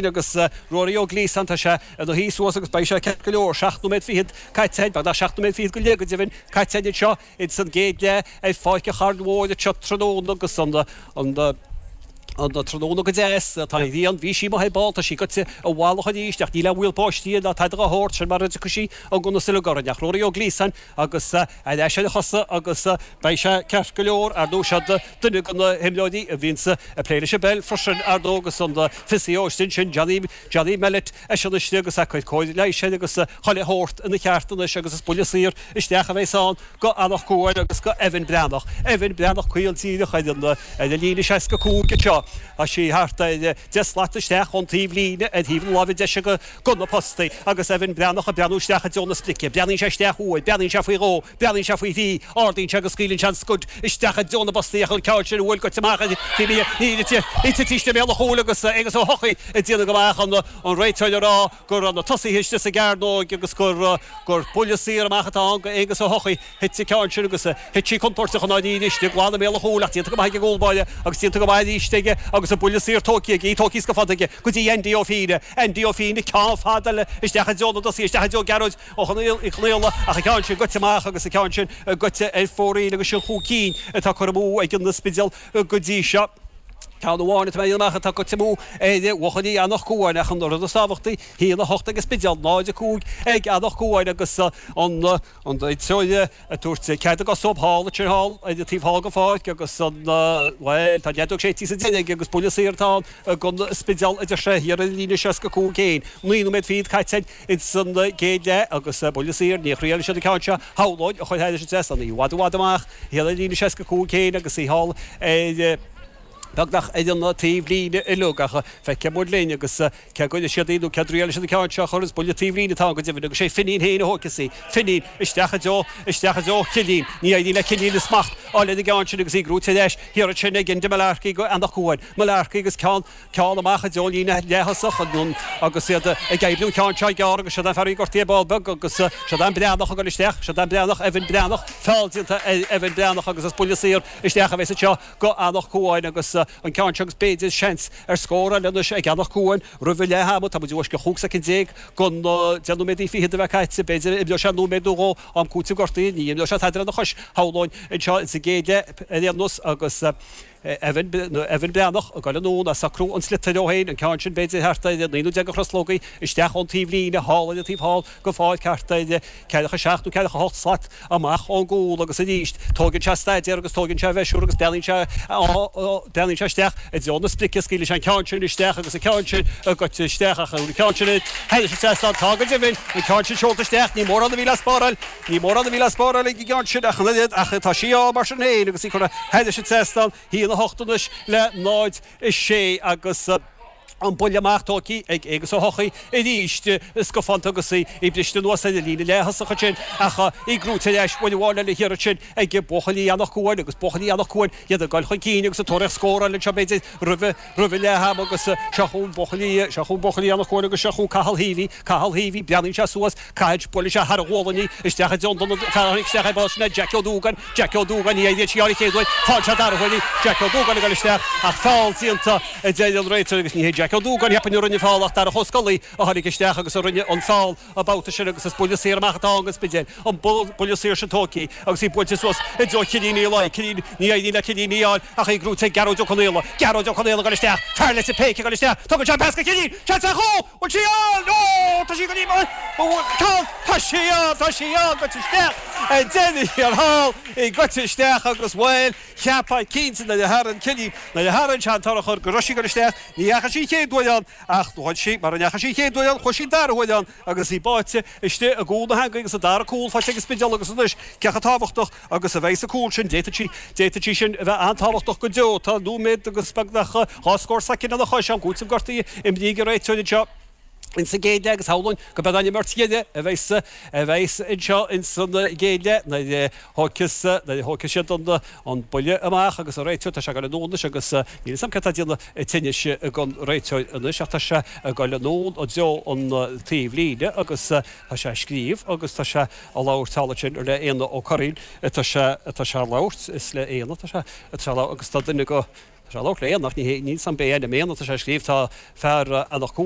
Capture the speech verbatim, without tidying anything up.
Agus Ruairí Ó Gliasáin, tá sé ina shuí suas agus beidh sé ceart go leor, seacht nóiméad fichead caite againn, beagnach seacht nóiméad fichead go leith go deimhin, caite againn anseo ins an gcéad leath ar Pháirc an Chairn Mhóir anseo tráthnóna agus an an an tráthnóna go deas, tá an ghrian, bhí sí amuigh ar ball, tá sí goite i bhfalach arís ach níl aon bhaol báistí ná tada dá shórt sin mar a dtiocfaidh sí an donas uilig orainn ach Ruairí Ó Gliasáin agus ar ais ar a chosa agus beidh sé ceart go leor, ar ndóigh siod duine de na himreoirí a bhíonns ag plé leis an bpeil freisin, ar ndóigh, agus an physio istigh ansin, Johnny, Johnny Mellett, eisean istigh agus é ag cur cóir leighis air agus chuile shórt ina cheart anois agus is buille saor isteach a bheas ann go Anach Cuain agus go Evan Breathnach. Evan Breathnach caol díreach ar an, ar an líne seasca cúig anseo. Tá sí thart ar deich slat isteach ón taobh líne ar thaobh na láimhe deise go, go na postaí agus Evan Breathnach ag breathnú isteach i dtreo na sprice. Breathnaíonn sé isteach uair, breathnaíonn sé faoi dhó, breathnaíonn sé faoi thrí, ardaíonn sé agus scaoileann sé an scud isteach i dtreo na bpostaí ach an ceann sin a bhuail goite amach ar taobh ní í tite istigh i mbéal an chúil agus Aonghus Ó hEochaidh ag déanamh go maith an an réiteoir ag rá go raibh na tosaithe istigh sa gcearnóig agus gur gur buille saor amach atá ann go Aonghus Ó hEochaidh. Thit an ceann sin agus thit sí contúirteach i ndáiríre istigh glan i mbéal an chúil ach déanta go maith ag an gcúl báire agus déanta go maith arís aige agus an buille saor tógtha aige, í tógtha go fada aige go dtí Andy Ó Fíne. Andy Ó Fíne, ceann fada eile isteach i dtreo na dtosaithe, isteach i dtreo Gearóid Ó Conaola ach an ceann sin goite amach agus an ceann sin goite ar fóraoil agus sin chúig cinn atá curtha amú ag an Spidéal go dtí seo. Ceann amháin atá mé a dhéanamh amach atá goite amú ar bhuachaillí Eanach Cuain ach an rud is tábhachtaí, a haon a hocht ag an Spidéal, náid a cúig ag Eanach Cuain agus an an réiteoir ag tabhairt cead a gcos dóibh thall ansin thall ar an taobh thall den pháirc agus an, bhuel, tá an fheadóg séidte sa deireadh aige agus buille saor atá ann don Spidéal a deir sé, thiar ar an líne seasca cúig féin. Naoi nóiméad fichead caite ins an gcéad leath agus buille saor, ní thriailfidh siad an ceann seo, shamhlóinn, a chur thairis an trasnán, í i bhfad i bhfad amach thiar ar an líne seasca cúig féin agus í thall ar beagnach ar an taobh líne uilig ach feicfidh muid linn agus cé go gcuirfidh siad í nó cé a dtriailfidh siad an ceann seo a chur is buille taobh líne atá ann go deimhin agus sé Finín féin a thógfas í. Finín isteach i dtreo, isteach i dtreo Chillín. Ní éiríonn le Cillín a smacht a fháil ar an gceann sin agus í gnóite ar ais thiar ansin ag Enda Mullarkey go Eanach Cuain. Mullarkey agus ceann, ceann amach i dtreo líne leath-thosach agus iad ag oibriú an ceann seo gearr agus siod an fear a bhí gortaithe ar ball beag agus siod an Breathnach ag dul isteach, siod an Breathnach, Evan Breathnach, feall déanta ar Evan Breathnach agus is buille saor isteach a bheas anseo go Eanach Cuain agus an ceann seo agus b'fhéidir seans ar scór eile anois ag Eanach Cuain roimh a leath ama. Tá muid i bhfoisceacht chúig soicind déag den deich nóiméadaí fichead a bheith caite. B'fhéidir imreoidh sé nóiméad nó dhó am cúitimh gortaithe. Ní imreoidh sé tada lena chois, shamhlóinn, anseo sa gcéad leath ar aon nós agus Evan Evan Breathnach ag dul anonn ag socrú an sliotair dó féin, an ceann sin b'fhéidir thart ar naoi nó deich de chroslógaí isteach ón taobh líne thall ar an taobh thall den pháirc thart ar ceathracha seacht nó ceathracha hocht slat amach ón gcúl agus arís tóigeann sé staidéar agus tóigeann sé a mheisiúr agus breathnaíonn sé breathnaíonn sé isteach i dtreo na sprice, scaoileann sé an ceann sin isteach agus an ceann sin goite isteach ach an ceann sin thairis an trasnán tá go deimhin an ceann sin seolta isteach ní mórán a bhí le spáráil ní mórán a bhí le spáráil ag an gceann sin ach an oiread ach tá sí á mar sin féin agus í curtha thairis an trasnán haon a hocht anois le náid a sé agus an buille amach tógtha ag Aonghus Ó hEochaidh arís scafánta agus í briste anuas ar an líne leath-thosach ansin ach í gnóite ar ais uair amháin eile thiar ansin ag buachaillí Eanach Cuain agus buachaillí Eanach Cuain iad ag dul chun cinn agus ag tóraíocht scór eile anseo b'fhéidir roimhe roimhe leath ama agus seo chugainn buachaillí seo chugainn buachaillí Eanach Cuain agus seo chugainn Cathal Heavey Cathal Heavey breathnaíonn sé suas Caithfidh, buaileann sé thar a ghualainn í, isteach i dtreo an fear a tháinig isteach ar ball sin é Jack Ó Dúgáin, Jack Ó Dúgáin, ní éiríonn sí an chéad uair, faigheann sé an dara huair í, Jack Ó Dúgáin ag dul isteach ach feall déanta a deir an réiteoir agus ní hé Jack Ó Dúgáin cheapfainn a rinne an feall ach Darach Ó Scolaí a tháinig isteach agus a rinne an feall an babhta sin agus is buille saor amach atá ann don Spidéal, an buille saor sin tógtha agus í buailte suas i dtreo Chillín Uí Laoi, Cillín, ní éiríonn le Cillín í a fháil ach í gnóite ag Gearóid Ó Conaola, Gearóid Ó Conaola ag dul isteach, fear Leitir Péic ag dul isteach, tugann sé an pas go Cillín, seans ar chúl! Bhfuil sí ann? Ó! Tá sí go dtí Tá! Tá sí ann! Tá sí ann! Goite isteach! Ar deireadh thiar thall, í goite isteach agus, bhuel, cheapfá cinnte nuair a tharraing Cillian, nuair a tharraing sé an t-urchar go raibh sí ag dul isteach. Ní dheachaigh sí an chéad uair ann ach chuaigh sí, mara ndeachaigh sí an chéad uair ann, chuaigh sí an dara huair ann agus í báite istigh i gcúl na heangaí agus an dara cúl faighte ag an Spidéal agus anois cé chomh tábhachtach agus a bheidh an cúl sin, d'fhéadfadh sí, d'fhéadfadh sí sin a bheith an-tábhachtach go deo. Tá nóiméad agus beagnach dhá scór soicind lena chois, am cúitimh gortaithe imrithe ag an réiteoir anseo ins an gcéad leath agus shamhlóinn go mbeidh an imirt dheiridh a bheas a bheas anseo ins an gcéad leath nuair a thógfas nuair a thógfaidh siad an an buille amach agus an réiteoir tá sé ag dul anonn anois agus níl fhios agam céard tá ag déanamh tinnis ag an réiteoir anois ach tá sé ag dul anonn i dtreo an taobh líne agus tá sé ag scríobh agus tá sé a labhairt thall ansin le Éanna Ó Curraoin atá sé atá sé a labhairt is le Éanna atá sé atá sé a labhairt agus tá duine go Tá sé labhairt le Éanna ach ní níl san bé ainm Éanna tá sé scríobh tá fear Eanach Cuain